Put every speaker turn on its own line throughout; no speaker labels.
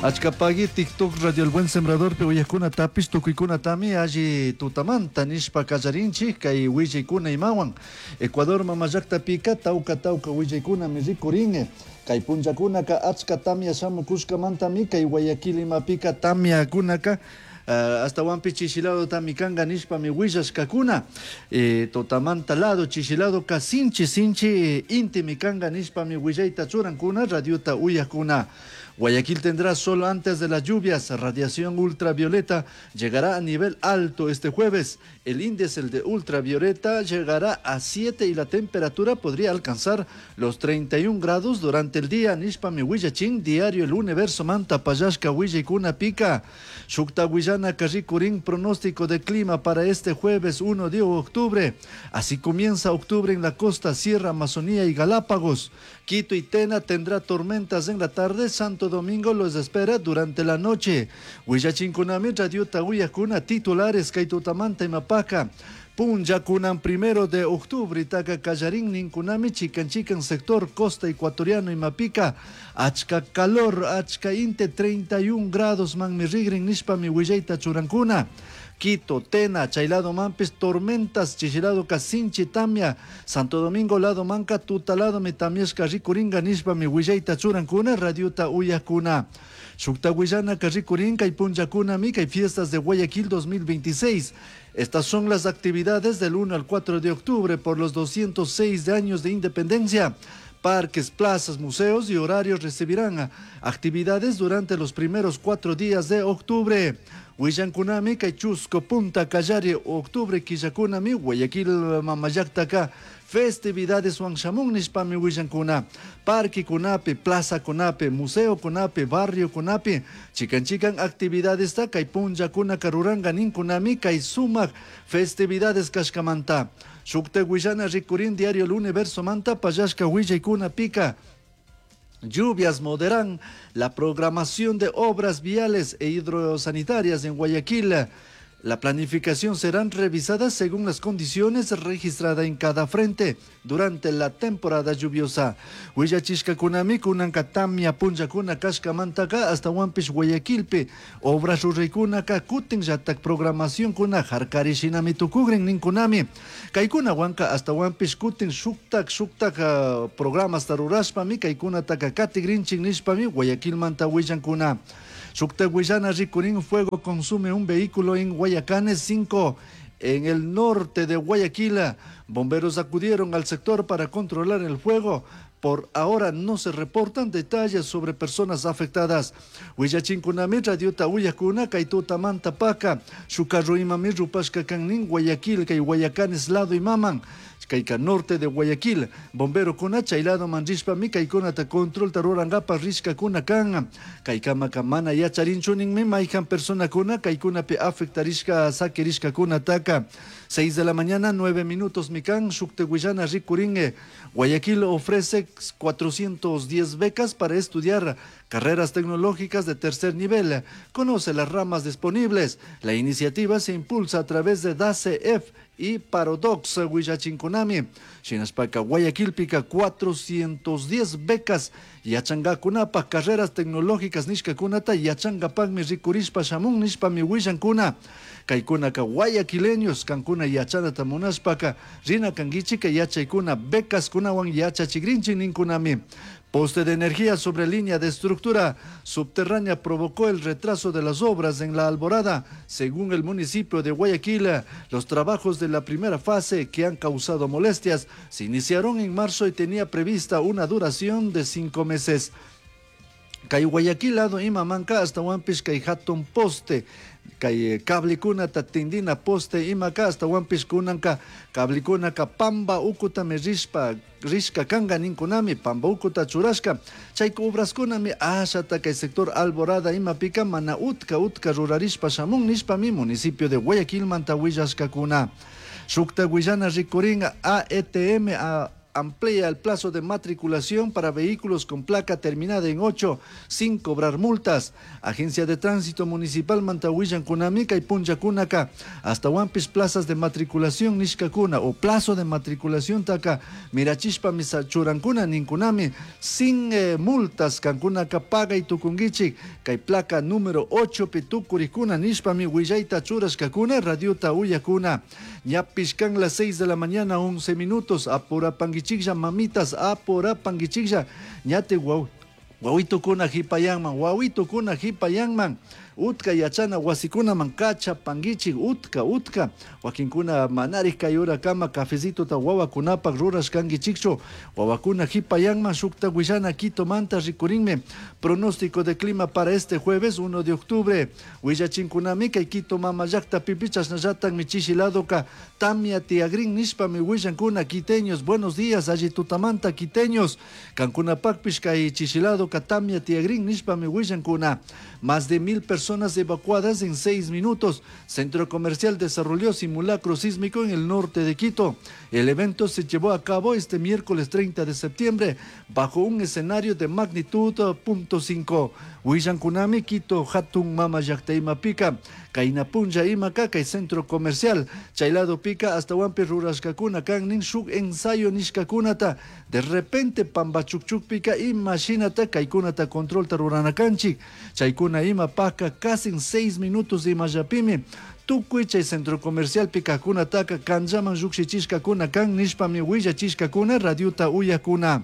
Achkapagui TikTok Radio El Buen Sembradorpi uyajkunatapish tukuykunatami alli tutamanta nishpa kallarinchik kay willaykuna imawan. Ecuador mamallaktapica tawka tawka willaykunami rikurin. Kay punllakunaka achka tamya shamukushkamantami kay Guayaquil imapika tamyakunaka ashtawanpish chishi ladotami kanga nishpami willashkakuna. Tutamanta lado chishi ladoka sinchi sinchi intimi kanga nishpami willayta churankuna radiota uyajkuna. Guayaquil tendrá sol antes de las lluvias. Radiación ultravioleta llegará a nivel alto este jueves. El índice de ultravioleta llegará a 7 y la temperatura podría alcanzar los 31 grados durante el día. Nishpami willachin, diario El Universo manta pallashka willaykuna pica. Shukta willana rikurin pronóstico de clima para este jueves 1 de octubre. Así comienza octubre en la costa, Sierra, Amazonía y Galápagos. Quito y Tena tendrá tormentas en la tarde. Santo Domingo los espera durante la noche. Willachinkunami Radio Tawiyakuna titulares kay tutamanta imapaka. Punllakunan 1 de octubre taka kallarin ninkunami chikan chikan sector costa ecuatoriano imapika. Achka calor, achka inte 31 grados manmi rigrin nishpami willayta churankuna. Quito, Tena, chay lado manpis, tormentas, chishi lado sinchi tamia, Santo Domingo lado manka, tuta lado mi tamiashka rikuringa nishpami willayta churankuna, radiota uyakuna. Shukta willana rikurinka y punllakuna kay fiestas de Guayaquil 2026. Estas son las actividades del 1 al 4 de octubre por los 206 de años de independencia. Parques, plazas, museos y horarios recibirán actividades durante los primeros 4 días de octubre. Willankunami kay Chusco, Punta Callari, octubre, Quillakunami, Guayaquil, Mamallaktaka, festividades Huangshamun nishpami willankuna. Parque kunapi, plaza kunapi, museo kunapi, barrio kunapi, chikan chikan actividades ta kay punllakuna karuranga ninkunami kay sumak festividades kashkamanta. Shukta willana rikurin diario El Universo manta pallashka willaykuna pika. Lluvias moderan la programación de obras viales e hidrosanitarias en Guayaquil. La planificación serán revisadas según las condiciones registradas en cada frente durante la temporada lluviosa. Willachishkakunami kunanka tamia punllakuna kashkamantaka hasta Huampish Guayaquilpi. Obras ruraykunaka kutin llatak programacionkuna harkarishinami tukugrin ninkunami. Kaykuna wanka hasta Huampish kutin shuktak shuktak programas rurashpami kaykunataka katigrinchin nishpami Guayaquilmanta willankuna. Shukta willana rikurin fuego consume un vehículo en Guayacanes 5 en el norte de Guayaquil. Bomberos acudieron al sector para controlar el fuego. Por ahora no se reportan detalles sobre personas afectadas. Willachinkunami radiota uyakuna kay tutamanta paka. Shukarru imami rupashka kannin Guayaquil kay Guayacanes lado imaman. Kayka norte de Guayaquil. Bombero kuna chay lado man rishpami kaykunata controlta rurangapa rishkakuna kan. Kaykamaka mana yacharinchu ninmi mayhan personakuna kaykunapi afectarishka sakirishkakunataka. 6 de la mañana, 9 minutos, mikan, Shukte Willana rikuringe. Guayaquil ofrece 410 becas para estudiar carreras tecnológicas de tercer nivel. Conoce las ramas disponibles. La iniciativa se impulsa a través de DACEF y Paradox Willachinkunami. Shinashpaka Guayaquilpika 410 becas yachangakunapa carreras tecnológicas nishkakunata yachangapakmi rikurishpa shamun nishpami willankuna. Kaykunaka guayaquileños kankuna yachanata munashpaka rina kankichika yachaykuna becas kunawan yachachigrinchik ninkunami. Poste de energía sobre línea de estructura subterránea provocó el retraso de las obras en la Alborada. Según el municipio de Guayaquil, los trabajos de la primera fase que han causado molestias se iniciaron en marzo y tenía prevista una duración de 5 meses. Kay Guayaquil lado imamanka hasta Huampish kay hatun poste kay cablekunata tindina poste imaka hasta Huampish kunanka cablekunaka pamba ukutami rishpa rishka kanga ninkunami pamba ukuta churashka chay obraskunami ashata kay sector Alborada imapika mana utka utka rurarishpa shamun nishpami municipio de Guayaquil manta willashkakuna. Shukta willana rikurin AETM a. amplía el plazo de matriculación para vehículos con placa terminada en 8 sin cobrar multas. Agencia de Tránsito Municipal manta huillankunami kay punllakunaka ashtahuanpish plazas de matriculación nishkakuna o plazo de matriculación taka mirachishpami churankuna ninkunami sin multas kankunaka pagay tukunguichik kay placa número 8 pi tukurikuna nishpami willayta churashkakuna radiota uyakuna. Ñapish kan las 6 de la mañana 11 minutos, apurapanguichiklla mamitas, apurapanguichiklla ñate guau wawitukuna hipayanman, wawitukuna hipayanman, utka yachana wasikunaman kachapanguichik, utka utka wakinkuna manarik kay urakama cafecitota wawakunapak rurashkanguichikchu, wawakuna hipayanman. Shukta willana Quitomanta rikurinmi pronóstico de clima para este jueves 1 de octubre. Willachinkunami kay Quito mama llaktapipish chashnallatakmi chishi ladoka tamia tiagrin nishpami willankuna. Quiteños, buenos días, alli tutamanta quiteños, kankunapakpish kay chishi ladoka tamia tiagrin nishpami willankuna. Más de 1000 personas evacuadas en 6 minutos. Centro comercial desarrolló simulacro sísmico en el norte de Quito. El evento se llevó a cabo este miércoles 30 de septiembre bajo un escenario de magnitud .5. Willankunami Quito hatun mama llakta imapika kayna punlla imaka kay centro comercial chay ladopika ashtahuanpi rurashkakuna kan nin shuk ensayo nishkakunata. De repente pambachukchukpika ima shinata kaykunata controlta rurana kanchik, chaykuna imapaka casi 6 minutos imallapimi tukuy chay centro comercialpi kajkunataka kanllaman llukshichishkakuna kan nishpami willachishkakuna radiota uyakuna.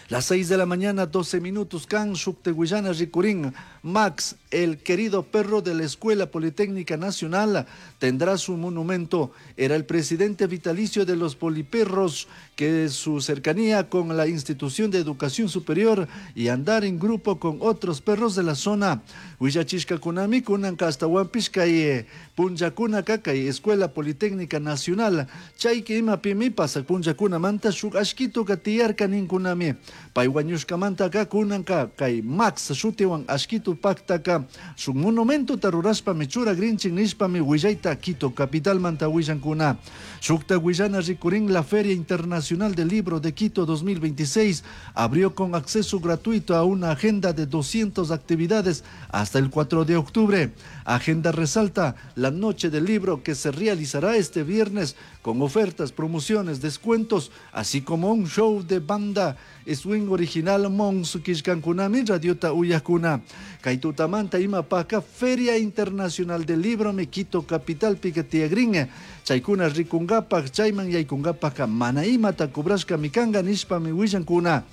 Las 6 de la mañana, 12 minutos, kan shukte willana rikurin. Max, el querido perro de la Escuela Politécnica Nacional, tendrá su monumento. Era el presidente vitalicio de los poliperros, que su cercanía con la institución de educación superior y andar en grupo con otros perros de la zona. Willachishkakunami kunanka ashtahuanpish kay punllakunaka kay Escuela Politécnica Nacional. Chayki imapimi pasak punllakunamanta shuk ashkituka tiyarka ninkunami. Pay wañushkamantaka kunanka kay Max shutiwan ashkitu paktaka shuk monumentota rurashpami churagrinchik nishpami willayta Quito capitalmanta willankuna. Shukta willana rikurin la Feria Internacional del Libro de Quito 2026 abrió con acceso gratuito a una agenda de 200 actividades hasta el 4 de octubre. Agenda resalta la Noche del Libro que se realizará este viernes con ofertas, promociones, descuentos, así como un show de banda swing original Mons killkankunami radiota uyakuna. Kay tutamanta imapaka Feria Internacional del Libro mi Quito capital pika tiyagrin. Chaykuna rikungapak, chayman yaykungapaka mana imata cobrashkami kanga nishpami willankuna.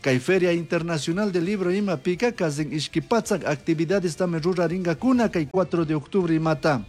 Kay Feria Internacional del Libro imapika kasin ishki patsak actividades tami ruraringakuna kay 4 de octubre imata.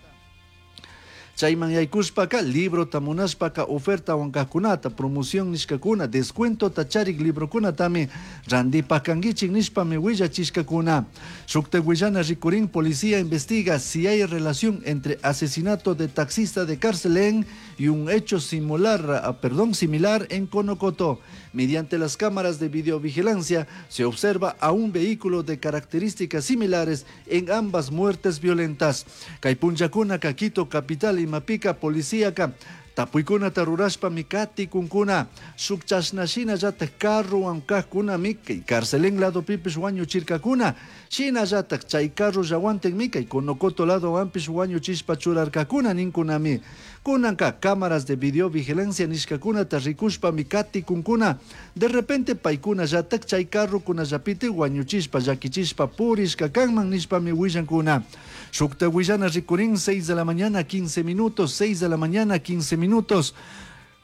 Chayman yaykushpaka librota munashpaka ofertawan kajkunata, promoción nishkakuna, descuentota charik librokunatami randipakanguichik nishpami willachishkakuna. Shukta willana rikurin policía investiga si hay relación entre asesinato de taxista de Carcelén y un hecho similar, ah, perdón, similar en Conocoto. Mediante las cámaras de videovigilancia se observa a un vehículo de características similares en ambas muertes violentas. Kay punllakuna Quito capital imapika policíaka tapuykunata rurashpami katikunkuna shuk chashnashinallatak carrowan kajkunami kay Carcelén ladopipish wañuchirkakuna, shinallatak chay carrollawantikmi kay Conocoto ladowanpish wañuchishpa churarkakuna ninkunami. Kunanka cámaras de videovigilancia nishkakunata rikushpami katikunkuna, de repente paykunallatak chay carrokunallapiti wañuchishpa llakichishpa purishka kanman nishpami willankuna. Shukta willana rikurin 6 de la mañana 15 minutos, 6 de la mañana 15 minutos.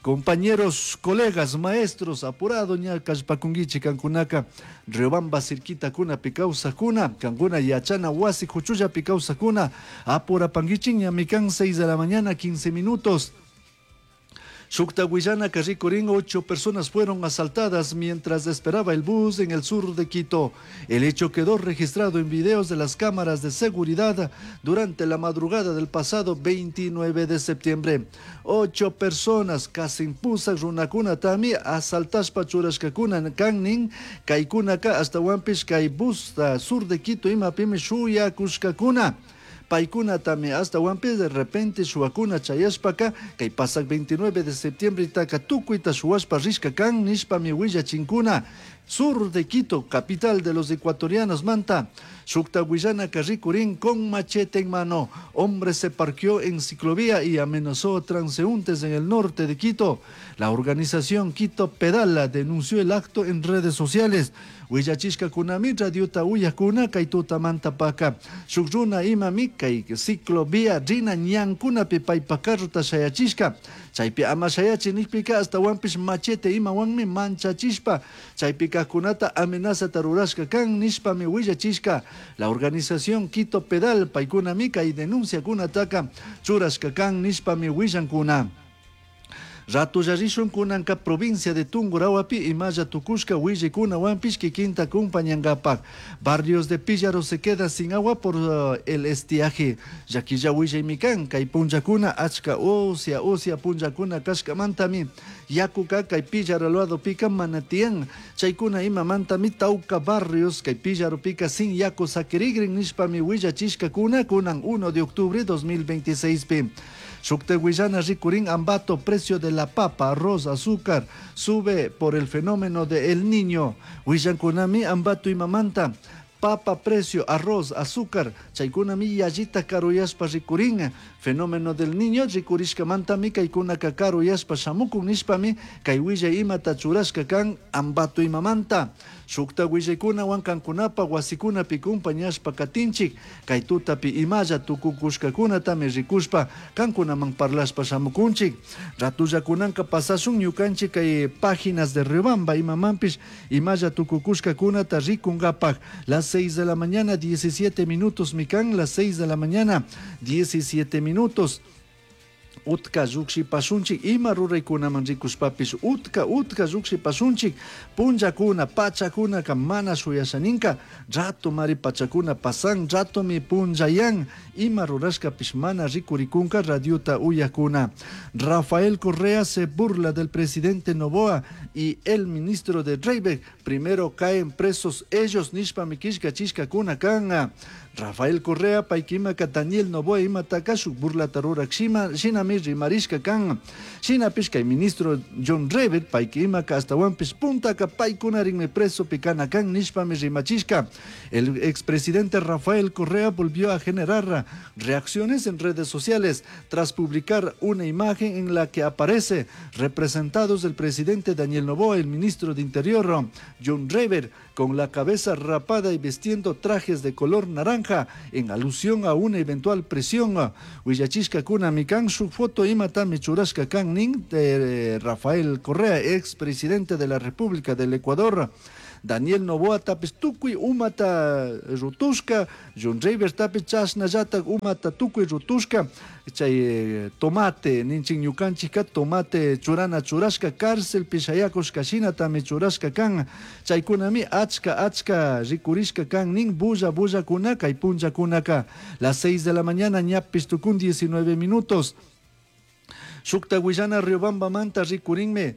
Compañeros, colegas, maestros, apurado ña kallpakunguichik kankunaka Riobamba cerquitakuna kawsakuna, kankuna yachana wasi kuchullapi kawsakuna, apurapanguichik ñami kan 6 de la mañana 15 minutos. Shukta willana rikurin, 8 personas fueron asaltadas mientras esperaba el bus en el sur de Quito. El hecho quedó registrado en videos de las cámaras de seguridad durante la madrugada del pasado 29 de septiembre. 8 personas casi pusak runakunatami asaltashpa churashkakuna kannin kaykunaka ashtahuanpish kay bus sur de Quito imapimi shuyakushkakuna. Paykunatami ashtawanpish de repente shuwakuna chayashpaka kay pasak 29 de septiembretaka tukuyta shuwashpa rishka kan nishpami willachinkuna. Sur de Quito, capital de los ecuatorianos manta. Shukta willanaka rikurin con machete en mano. Hombre se parqueó en ciclovía y amenazó a transeúntes en el norte de Quito. La organización Quito Pedala denunció el acto en redes sociales. Willachishkakunami radiota uyakuna kay tutamantapaka. Shuk runa imami kay ciclovía rina ñankunapi paypa carrota shayachishka. Chaypi ama shayachi nikpika ashtawanpish machete imawanmi manchachishpa chaypi kajkunata amenazata rurashka kan nishpami willachishka. La organización Quito Pedal paykunami kay denunciakunataka churashka kan nishpami willankuna. Ratulla rishun kunanka provincia de Tungurahuapi imalla tukushka willikunawanpish kikinta acompañankapak. Barrios de Píllaro se queda sin agua por el estiaje. Llaquilla willaymi kan kay punllakuna achka usya usya punllakuna kashkamantami yakuka kay Píllaro ladopika mana tiyan. Chaykuna imamantami tawka barrios kay Píllaropika sin yaku sakirigrin nishpami willachishkakuna kunan 1 de octubre 2026 pi. Shukta willana rikurin Ambato, precio de la papa, arroz, azúcar, sube por el fenómeno de El Niño. Willankunami Ambato imamanta, papa precio, arroz, azúcar, chaykunami yallita karuyashpa rikurin. Fenómeno del Niño rikurishkamantami kaykunaka karuyashpa shamukun nishpami kay willay imata churashka kan Ambato imamanta. Shukta willaykunawan kankunapa wasikunapi kumpañashpa katinchik, kay tutapi imalla tukukushkakunatami rikushpa kankunaman parlashpa shamukunchik. Ratullakunanka pasashun ñukanchik kay páginas de Riobamba imamanpish imalla tukukushkakunata rikunkapak. Las 6 de la mañana 17 minutos mikan, las 6 de la mañana 17 minutos. Utka llukshipashunchik ima ruraykunaman rikushpapish utka utka llukshipashunchik punllakuna pachakunaka mana shuyashaninka rato mari pachakuna pasan ratomi punllayan ima rurashkapish mana rikurikunka radiota uyakuna. Rafael Correa se burla del presidente Noboa y el ministro de Reybert. Primero caen presos ellos nishpami killkachishkakuna kan. Rafael Correa paykimaka Daniel Noboa imataka shuk burlata rurak shinami rimarishka kan. Shinapish kay ministro John Reybert paykimaka ashtawanpish puntaka paykunarinmi preso pikana kan nishpami rimachishka. El expresidente Rafael Correa volvió a generar reacciones en redes sociales tras publicar una imagen en la que aparece representados el presidente Daniel Noboa, el ministro de Interior John Reybert, con la cabeza rapada y vistiendo trajes de color naranja en alusión a una eventual presión. Willachishka kunami kan su foto imatami churashka kan nin de Rafael Correa, expresidente de la República del Ecuador. Daniel Noboa tapis tukuy umata rutushka, John Reybert tapis chashnallata umata tukuy rutushka, chay tomate ninchin ñukanchikka tomate churana churashka cárcel pishayakushka shinatami churashka kan, chaykunami achka achka rikurishka kan nin bulla bullakuna kay punllakunaka. Las 6 de la mañana ñapis tukun 19 minutos. Shukta willana Riobamba manta rikurinme.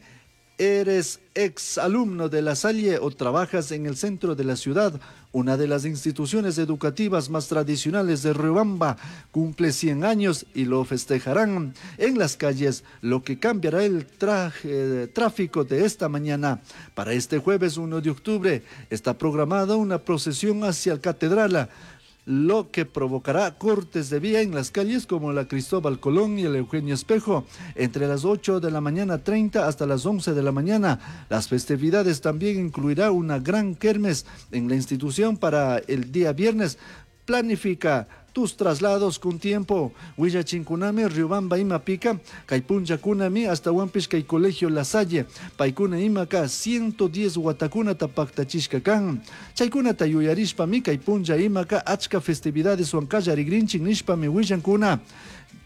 Eres ex alumno de La Salle o trabajas en el centro de la ciudad, una de las instituciones educativas más tradicionales de Riobamba, cumple 100 años y lo festejarán en las calles, lo que cambiará el tráfico de esta mañana. Para este jueves 1 de octubre está programada una procesión hacia la catedral, lo que provocará cortes de vía en las calles como la Cristóbal Colón y el Eugenio Espejo, entre las 8 de la mañana 30 hasta las 11 de la mañana. Las festividades también incluirá una gran kermes en la institución para el día viernes. Planifica tus traslados con tiempo. Willachinkunami, Riobamba imapika, kay punllakunami, hasta Huampish kay Colegio La Salle, paykuna imaka 110 watakunata paktachishka kan. Chaykunata yuyarishpami kay punlla imaka achka festividades huankallarigrinchin nishpami willankuna.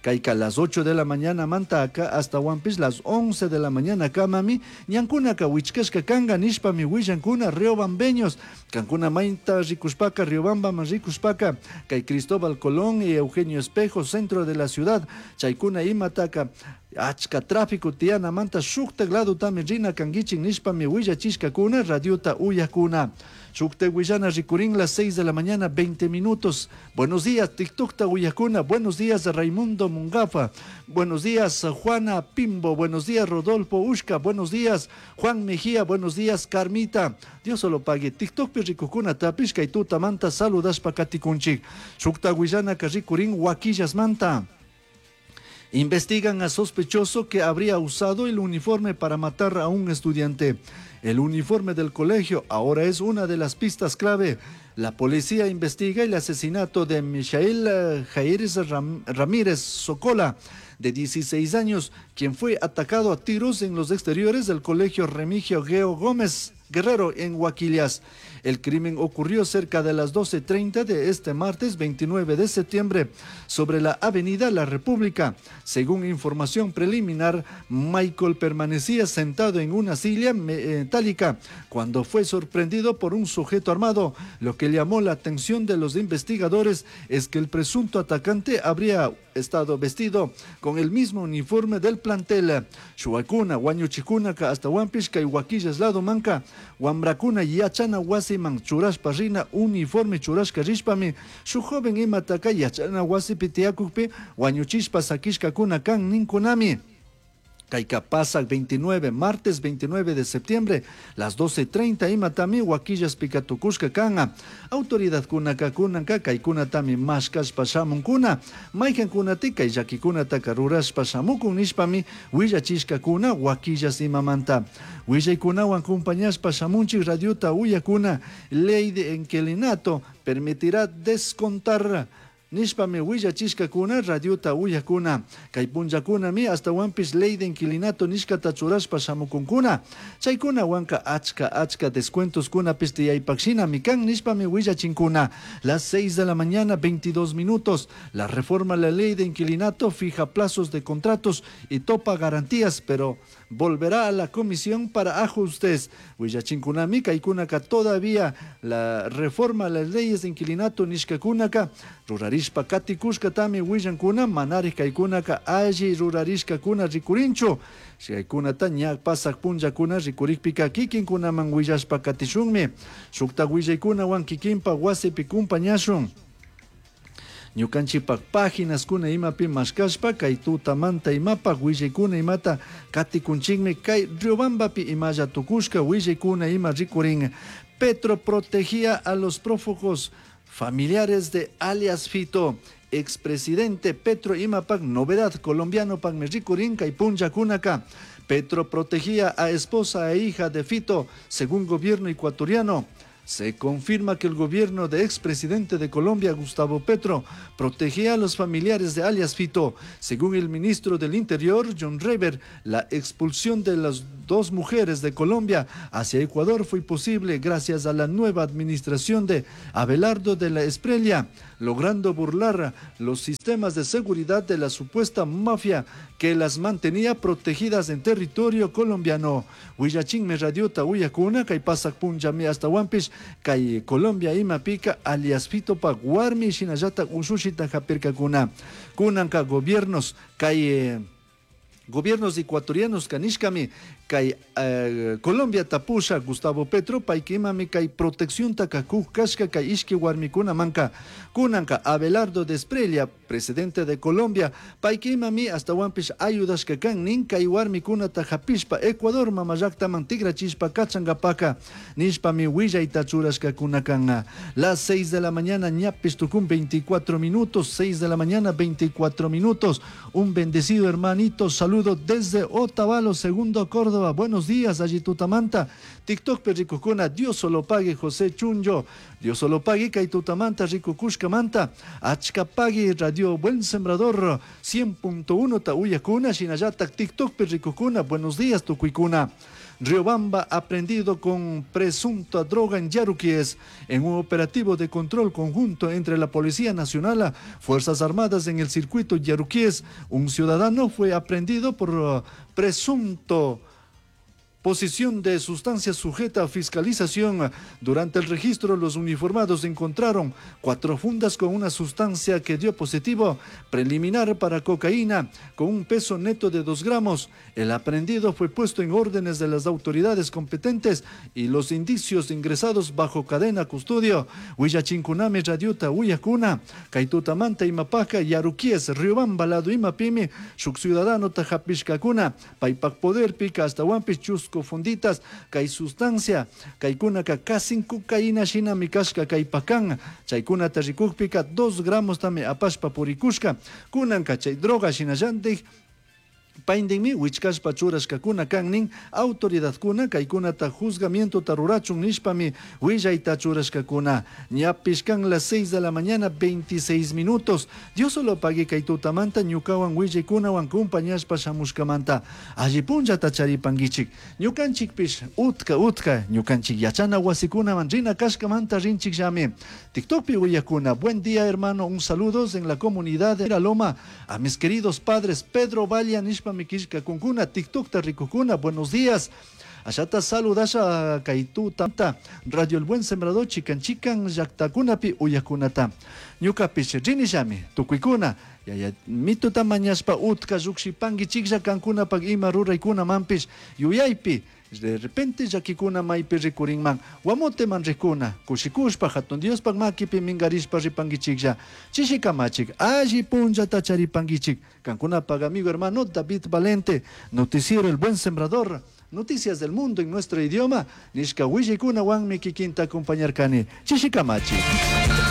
Kayka las 8 de la mañana manta acá hasta Huampish las 11 de la mañana kamami, ñankunaka wichkashka kanga nishpami willankuna riobambeños, kankuna mainta rikushpaka, Riobamba man rikushpaka, kay Cristóbal Colón y Eugenio Espejo, centro de la ciudad, chaykuna imataka achka tráfico tiana manta shuktak lado tami rina kanguichin nishpami willachishkakuna radiota uyakuna. Shukta willana rikurin las 6 de la mañana 20 minutos. Buenos días, TikTokta uyakuna. Buenos días, Raimundo Mungafa. Buenos días, Juana Pimbo. Buenos días, Rodolfo Ushka. Buenos días, Juan Mejía. Buenos días, Carmita. Dios solo pague. TikTokpi rikukunatapish kay tutamanta saludashpa katikunchik. Shukta willanaka rikurin Huaquillasmanta. Investigan a sospechoso que habría usado el uniforme para matar a un estudiante. El uniforme del colegio ahora es una de las pistas clave. La policía investiga el asesinato de Michael Jair Ramírez Socola, de 16 años, quien fue atacado a tiros en los exteriores del colegio Remigio Geo Gómez Guerrero en Huaquillas. El crimen ocurrió cerca de las 12:30 de este martes 29 de septiembre sobre la avenida La República. Según información preliminar, Michael permanecía sentado en una silla metálica cuando fue sorprendido por un sujeto armado. Lo que llamó la atención de los investigadores es que el presunto atacante habría estado vestido con el mismo uniforme del plantel. Shuakuna, Huañuchikunaka, hasta Huampishka y Huaquillas lado manca, Huambracuna y Yachana wasiman churashpa rina uniforme churashka rishpami shuk joven imataka yachana wasipi tiyakukpi wañuchishpa sakishkakuna kan ninkunami. Kayka pasak 29, martes 29 de septiembre, las 12:30 imatami Huaquillas pikatukushka kanga. Autoridadkunaka kunanka kaykunatami mashkashpa shamunkuna. Maykankunati kay llakikunataka rurashpa shamukun nishpami willachishkakuna Huaquillas imamanta. Willaykunawan compañashpa shamunchik radiota uyakuna. Ley de inquilinato permitirá descontar nishpami willachishkakuna radiota uyakuna. Kay punllakunami astawanpish ley de inquilinato nishkata churashpa shamukunkuna. Chaykunawanka achka achka descuentoskunapis tiyaypaqshinami kan nishpami willachinkuna. Las 6 de la mañana 22 minutos. La reforma a la ley de inquilinato fija plazos de contratos y topa garantías, pero volverá a la comisión para ajustes. Willachinkunami kaykunaka todavía la reforma a las leyes de inquilinato nishkakunaka rurarishpa katikushkatami willankuna manari kaykunaka alli rurarishkakuna rikurinchu. Chaykunata ña pasak punllakuna rikurikpika kikinkunaman willashpa katishunmi. Shukta willaykunawan kikinpa wasipi kumpañashun. Ñukanchikpak páginaskuna imapi mashkashpa kay tutamanta imapak willaykuna imata katikunchikmi kay Riobambapi imalla tukushka willaykuna ima rikurin. Petro protegía a los prófugos familiares de alias Fito. Expresidente Petro imapak novedad colombiano pakmi rikurin kay punllakunaka. Petro protegía a esposa e hija de Fito, según gobierno ecuatoriano. Se confirma que el gobierno de expresidente de Colombia, Gustavo Petro, protegía a los familiares de alias Fito. Según el ministro del Interior, John Rever, la expulsión de las dos mujeres de Colombia hacia Ecuador fue posible gracias a la nueva administración de Abelardo de la Espriella, logrando burlar los sistemas de seguridad de la supuesta mafia que las mantenía protegidas en territorio colombiano. Huillachinme radiota uyakuna, kay pasak punllami hasta Huampish, kay Colombia imapika alias Fito pa warmi shinallata ushushita japirkakuna. Kunanka gobiernos kay gobiernos ecuatorianos kanishkami kay Colombia tapusha Gustavo Petro paykimami kay protección takakuj kashka kay ishki warmikuna manka. Kunanka Abelardo de Espriella, presidente de Colombia, paykimami astawanpish ayudashka kan nin kay warmikunata hapishpa Ecuador mamallaktaman tigrachishpa kachangapaka nishpami willayta churashkakunakan. Las 6 de la mañana ñapis tukun 24 minutos, 6 de la mañana 24 minutos. Un bendecido hermanito, saludo desde Otavalo, segundo Córdoba. Buenos días, allí Tutamanta. TikTok perricocuna, Dios solo pague, José Chunyo. Dios solo pague, kay Tutamanta, rico Cushcamanta. Achka pague, Radio Buen Sembrador, 100.1 Tauyacuna, Shinayata, TikTok perricocuna. Buenos días, Tucuicuna. Riobamba aprendido con presunta droga en Yaruquíes en un operativo de control conjunto entre la Policía Nacional, Fuerzas Armadas en el circuito Yaruquíes. Un ciudadano fue aprendido por presunto Posición de sustancia sujeta a fiscalización. Durante el registro, los uniformados encontraron cuatro fundas con una sustancia que dio positivo preliminar para cocaína con un peso neto de 2 gramos. El aprendido fue puesto en órdenes de las autoridades competentes y los indicios ingresados bajo cadena custodio. Huillachinkunami radiota uyakuna. Kay tutamanta imapaka Yaruquies, Riobamba lado imapimi, shuk ciudadano hapishkakuna. Paypak poderpika ashtahuanpish chusku funditas kay sustancia kaykunaka casi cocaína shinami kashka kaypakan. Chaykunata rikukpika 2 gramos tami apashpa purikushka. Kunanka chay droga shinallantik Paindinmi wichkashpa churashkakuna kan nin autoridadkuna kaykunata juzgamientota rurachun nishpami willayta churashkakuna. Ñapish kan las 6 de la mañana 26 minutos. Dios solo pague kay tutamanta ñukawan willaykunawan compañashpa shamushkamanta. Alli punllata charipankichik. Ñukanchikpish utka utka ñukanchik yachana wasikunaman rina kashkamanta rinchikllami. TikTokpi uyakuna. Buen día hermano, un saludos en la comunidad de La Loma a mis queridos padres Pedro Valle nishpa mi killkakunkuna TikTokta rikukuna. Buenos días. Ashata saludasha kay tuta Radio El Buen Sembrador chikan chikan llaktakunapi uyakunata. Ñukapish rinillami tukuykuna yaya mituta mañashpa utka llukshipankichiklla kankunapak ima ruraykunamanpish yuyaypi de repente llakikuna maypi rikurinman Guamoteman rikuna kushikushpa hatun Diospak makipi minkarishpa ripankichiklla chishikamachik alli punllata charipankichik kankunapak amigo hermano David Valente noticiero El Buen Sembrador Noticias del Mundo en nuestro idioma, nishka willaykunawanmi kikinta acompañarkani. Chishikamachik.